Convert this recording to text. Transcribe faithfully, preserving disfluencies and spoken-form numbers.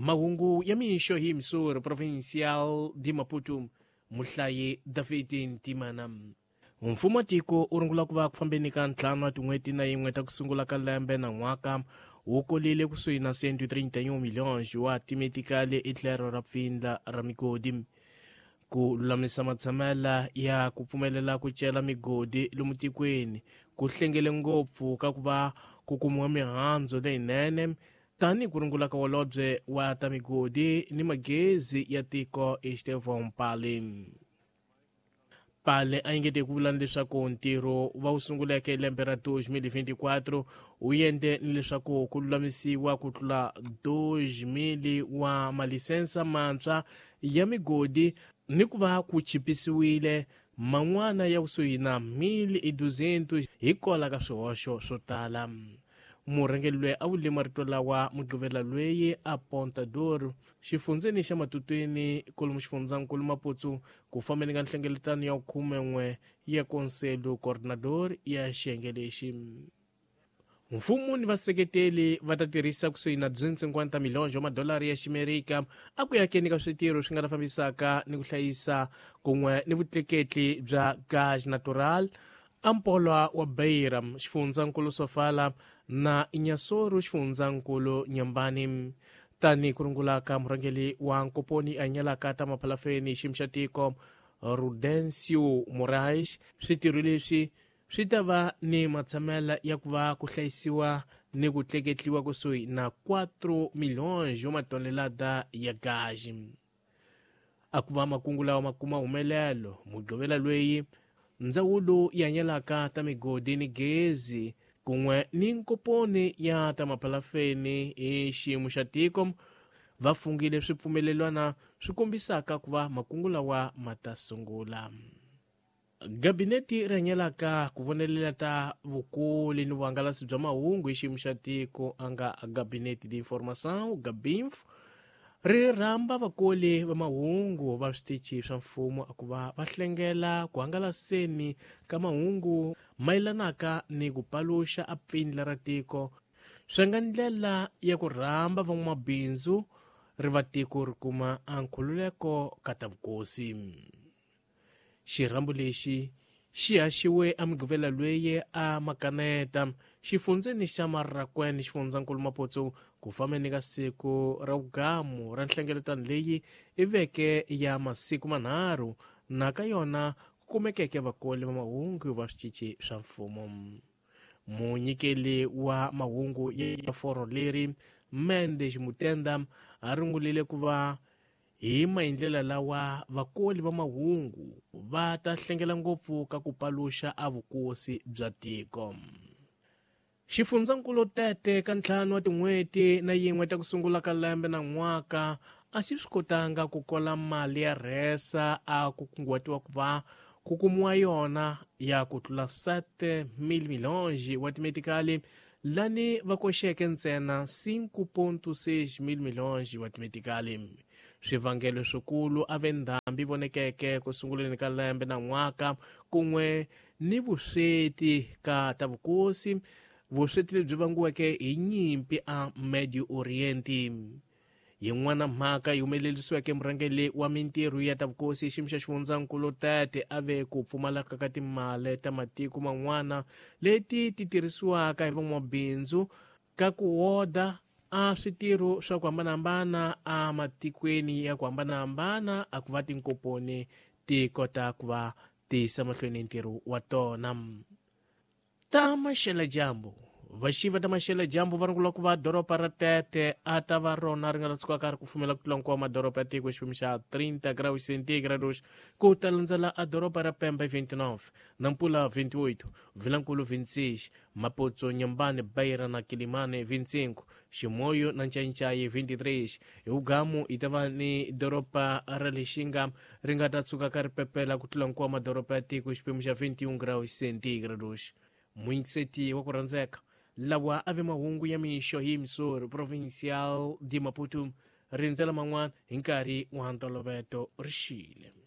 Mahungu ya mixo hi Missouri Provincial de Maputo, muhlayi David Ntimana. Mfumo wa tiko wu rungula ku va ku fambeni ka ntlhanu wa tin'hweti na yin'we ta ku sungula ka lembe na n'waka wu kolile kusuhi na cento e trinta e um milhões wa timetikali etlhelo ra pfindla ra migodi. Ku lulamisa matshamela ya ku pfumelela ku cela migodi lomu tikweni ku hlengele ngopfu ka ku va ku kumiwa mihandzu leyinene tani ku rungula ka holobye wa ta migodi ni magezi ya tiko Estevão Pale. Pale a engete ku vula leswaku ntirho va wu sunguleke lembe ra dois mil e vinte e quatro wu endle ni leswaku ku lulamisiwa ku tlula dois mil wa malisensa mantshwa ya migodi ni ku va ku chipisiwile man'wana ya kusuhi na mil e duzentos hikwalaho ka swihoxo swo tala. Murhangeri loyi a vule marito lawa Mugqivela loyi a Ponta Doro xifundzeni xa Matutweni kolomu xifundzankulu Maputo ku fambeni ka nhlengeletano ya khumen'we ya Conselho Coordenador ya xiyenge lexi. Mfumo ni vaseketeli va ta tirhisa kusuhi na duzentos e cinquenta milhões wa madolari ya Ximerika a ku yakeni ka switirho swi nga ta fambisaka ni ku hlayisa kun'we ni vutleketli bya gaz natural Ampolwa wa Beira xifundzankulu Sofala na Inhassoro xifundzankulu Nyambani. Tani ku rungula ka murhangeri wa nkoponi a nyalaka ta maphalafeni xiyimo xa tiko Rudencio Moraes, switirho leswi swi ta va ni matshamela ya ku va ku hlayisiwa ni ku tleketliwa kusuhi na quatro milhões wa matonelada ya gazi. A ku va makungu lawa ma kuma humelelo Mugqivela loyi ndzawulo ya nyalaka ta migodi ni gezi kun'we ni nkoponi ya ta maphalafeni hi xiyimo xa tiko va fungile swipfumelelwana swi kombisaka ku va makungu lawa ma ta sungula. Gabineti ri hanyelaka ku vonelela ta vukuli ni vuhangalasi bya mahungu hi xiyimo xa tiko a nga Gabinete de Informação Gabinf ri rhamba vakoli va mahungu va switichi swa mfumo a ku va va hlengela ku hangalaseni ka mahungu mayelanaka ni ku paluxa a pfindla ra tiko swi nga ndlela ya ku rhamba van'wamabindzu ri va tiko ri kuma a nkhululeko ka ta vukosi. Xirhambo lexi xi haxiwe a Mugqivela loyi a makaneta xifundzeni xa Marracuene xifundzankulu Maputo ku fambeni ka siku ra vugamu ra nhlengeletano leyi i veke ya masiku manharhu na ka yona ku kumekeke vakoli va mahungu va switichi swa mfumo. Munyikeli wa mahungu ya foro leri Mendes Mutenda a rungulile ku va hi maendlela lawa vakoli va mahungu va ta hlengela ngopfu ka ku paluxa a vukosi bya tiko. Xifundzankulu Tete ka ntlhanu wa tin'hweti na yin'we ta ku sungula ka lembe na n'waka a xi swi kotanga ku kola mali ya rhesa a ku kunguhatiwa ku va ku kumiwa yona ya ku tlula sete mil milhões wa timetikali lani va koxeke ntsena cinco ponto seis mil milhões wa timetikali. Swivangelo swikulu a ve ndhambi vonekeke ku sunguleni ka lembe na n'waka kun'we ni vusweti ka ta vukosi, vusweti lebyi vangiweke hi nyimpi a Medio Oriente. Yin'wana mhaka yi humelerisiweke murhangeri wa mintirho ya ta vukosi xiyimo xa xifundzankulu Tete a ve ku pfumaleka ka timali ta matiko man'wana leti ti tirhisiwaka hi van'wamabindzu ka ku woda a switirho swa ku hambanahambana a matikweni ya ku hambanahambana a ku va tinkoponi ti kota ku va tiyisa mahlweni ntirho wa tona. Ta maxela dyambu vaxiva ta maxela dyambu va rungula ku va doroba ra Tete a ta va rona ri nga ta tsukaka ri kufumela ku tlula nkuwa madoroba ya tiko xipimo xa trinta graus centígrados ku ta landzela a doroba ra Pemba vinte e nove, Nampula vinte e oito, Vilankulu vinte e seis, Maputo, Nyambane, Beira na Quilimane vinte e cinco, Chimoio na Nchainchai vinte e três. Hi vugamu yi ta va ni doroba ra Lixinga ri nga ta tsukaka ri pepela ku tlula nkuwa madoroba ya tiko xipimo xa vinte e um graus centígrados. Muingiseti wa ku rhandzeka lawa a ve mahungu ya mixo hi Missouri Provincial de Maputo rindzela man'wana hi nkarhi wa ntoloveto ri xile.